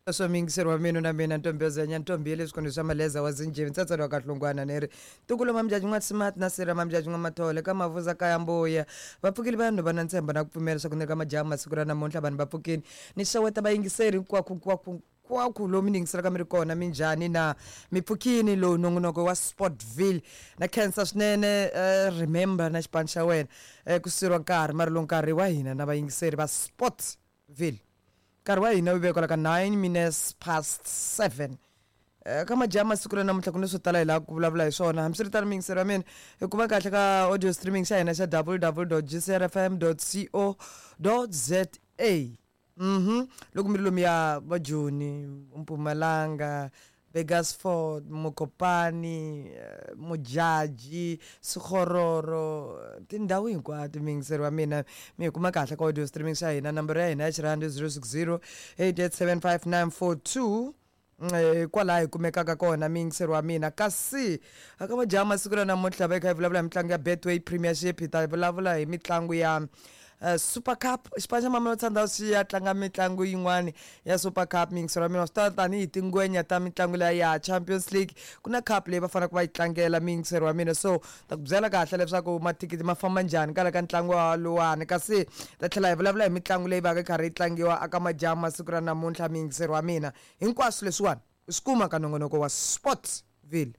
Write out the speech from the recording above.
Sweswo muyingiseri wa mina na mina ntombi yo zenya ntombi ya le swikhundleni swa maleza wa zinjhevi ntsatsana wa kahlungwana ni ri ntukulu mamjaji n'wa smart na sira mamjaji n'wa mathole ka mavuza kaya mbuya va pfukile vanhu va na ntshembo na ku pfumela leswaku ni ri ka majaha masiku ra namuntlha vanhu va pfukile ni xeweta vayingiseri hinkwako hinkwako hinkwako lomu ni yingiselaka mi ri kona minjhani na mi pfukini lowu nongonoko wa Sportville na khensa swinene remember na xipano xa wena ku siriwa nkarhi mara lowu nkarhi wa hina na vayingiseri va Sportville. Nkarhi wa hina wu ve kwala ka 9 minutes past 7. Ka majaha masiku ra namuntlha ku ni swo tala hi lava ku vulavula hi swona. Hambiswiritano muyingiseri wa mina, hi kuma kahle ka audio streaming xa hina xa www.gcrfm.co.za. Loko mi ri lomuya va Joni, Mpumalanga, Burgersfort, Mokopane, Modjadji, Sekgororo, tindhawu hinkwato muyingiseri wa mina mi hi kuma kahle ka audio streaming xa hina nambara ya hina ya xirhandi 060 8875942 kwalaha hi kumekaka kona muyingiseri wa mina kasi aka majaha masiku ra namuntlha va hi kha hi vulavula hi mitlangu ya Betway Premiership hi ta vulavula hi mitlangu ya Super Cup xipano xa Mamelodi Sundowns xi ya tlanga mitlangu yin'wani ya Super Cup miyingiselo ya mina wa swi tiva tanihi tingwenya ta mitlangu liya ya Champions League ku na cup leyi va faneleke va yi tlangela miyingiselo wa mina so ta ku byela kahle leswaku mathikithi ma famba njhani kwala ka ntlangu luwani kasi ta tlhela hi vulavula hi mitlangu leyi va ka yi karhi yi tlangiwa aka majaha masiku ra namuntlha miyingiselo wa mina hinkwaswo leswiwani u swi kuma ka nongonoko wa Sportsville.